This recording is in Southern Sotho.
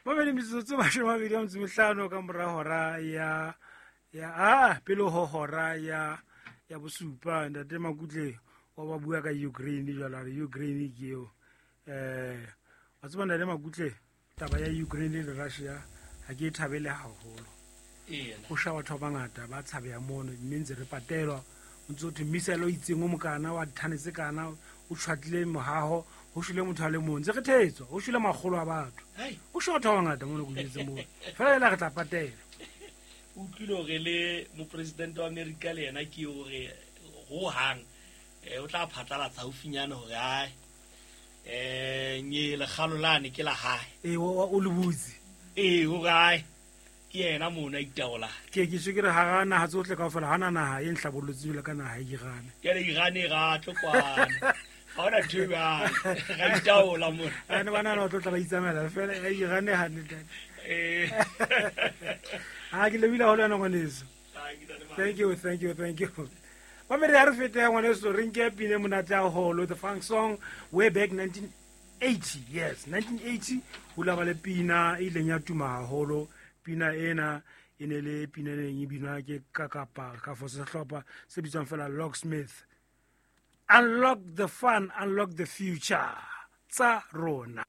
Mamedi, metsotso 25 ka mora hora ya a pele ho hora ya bosupa. Ntate Makutle wa ba bua ka Ukraine jwale, a re Ukraine ke eo. Wa tseba, ntate Makutle, taba ya Ukraine le Russia ha ke e thabele haholo. Go sha batho ba bangata ba tshabeya mono, mme ntse re patelwa o ntse o thwe missile o itseng o mokana wa dithane tse kana o tjhwatlile mohaho, ho shwele motho a le mong, ntse re thetswa, ho shwele makgolo a batho, ho shwe batho ba bangata mono ko moo fela ela re tla patela. O utlwile hore le mopresidente wa America le yena ke hore hohang o tla phatlalatsa haufinyane hore ae nye lekgalo lane ke la hae. Ee, o le butse. Ee, hore ae ke yena mono a itaola. Ke se ke re hara naha tsohle kaofela ha na naha e nhlabollotseng jwalo ka naha e Irane. Jale Irane ra tlo kwana, ga ona ntho e jwalo, ra itaola mona. Ane ba nahana ba tlo tla ba itsamaela fela ya Irane hantle. A ke lebile haholo yana, ngwaneso. Thank you, thank you, thank you. Mamedi, ha re fete ya ngwaneso, re nke pine monate haholo, the funk song way back 1980. Yes, 1980 ho la ba le pina e ileng ya tuma haholo. Pina ena e ne le pina e neng e binwa ke kakapa ka fo sehlopha se bitswang fela Locksmith. Unlock the fun, unlock the future tsa rona.